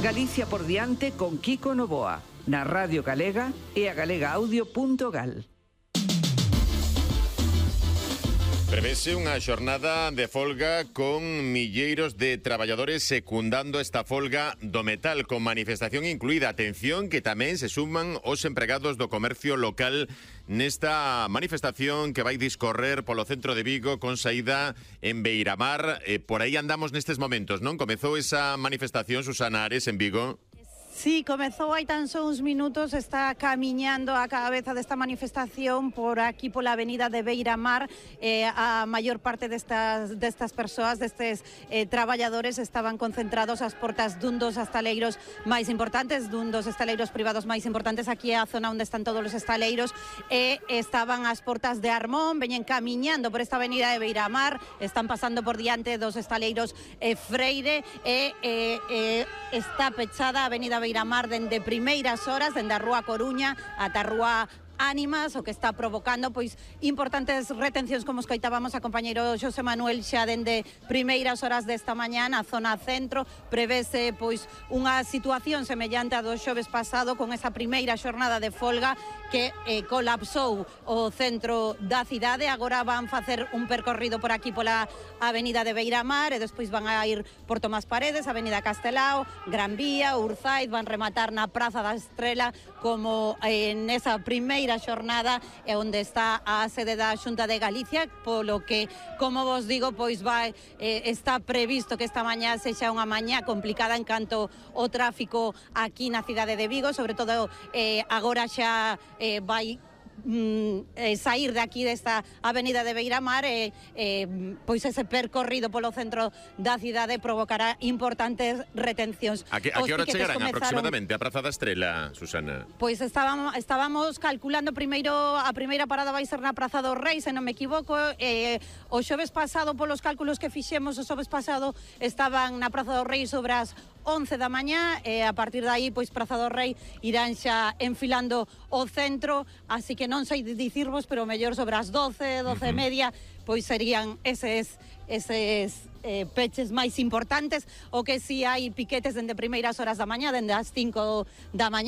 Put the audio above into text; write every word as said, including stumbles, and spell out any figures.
Galicia por diante con Kiko Novoa, na Radio Galega e a galegaaudio punto gal. Prevese unha xornada de folga con milleiros de traballadores secundando esta folga do metal, con manifestación incluída. Atención, que tamén se suman os empregados do comercio local nesta manifestación que vai discorrer polo centro de Vigo con saída en Beiramar. Eh, por aí andamos nestes momentos, non? Comezou esa manifestación, Susana Ares, en Vigo. Sí, comezou hai tan só uns minutos, está camiñando a cabeza desta manifestación por aquí pola avenida de Beiramar. Eh, a maior parte destas, destas persoas, destes eh, traballadores estaban concentrados ás portas dun dos estaleiros máis importantes, dun dos estaleiros privados máis importantes. Aquí é a zona onde están todos os estaleiros e estaban ás portas de Armón, veñen camiñando por esta avenida de Beiramar, están pasando por diante dos estaleiros eh, Freire e eh, eh, está pechada a avenida Beiramar dende primeiras horas, dende a Rúa Coruña ata a Rúa Ánimas, o que está provocando pois importantes retencións, como escoitábamos a compañeiro Xosé Manuel xa dende primeiras horas desta mañá na zona centro. Prevese pois unha situación semellante a do xoves pasado, con esa primeira xornada de folga que eh, colapsou o centro da cidade. Agora van facer un percorrido por aquí pola avenida de Beiramar e despois van a ir por Tomás Paredes, avenida Castelao, Gran Vía, Urzaiz, van rematar na Praza da Estrela, como eh, nesa primeira xornada é onde está a sede da Xunta de Galicia, polo que, como vos digo, pois vai, eh, está previsto que esta mañá sexa unha mañá complicada en canto o tráfico aquí na cidade de Vigo, sobre todo eh, agora xa eh, vai Mm, eh, sair de aquí desta avenida de Beiramar e eh, pois ese percorrido polo centro da cidade provocará importantes retencións. A que, a que hora chegarán comezaron aproximadamente a Praza da Estrela, Susana? Pois estábamos, estábamos calculando primeiro, a primeira parada vai ser na Praza do Rei, se non me equivoco. eh, o xoves pasado, polos cálculos que fixemos, o xoves pasado estaban na Praza do Rei sobre as once da mañá, e a partir de aí pois Praza do Rei irán xa enfilando o centro, así que non sei dicirvos, pero mellor sobre as doce, doce e media, pois serían eses eses eh, peches máis importantes. O que si hai piquetes dende primeiras horas da mañá, dende as cinco da mañá.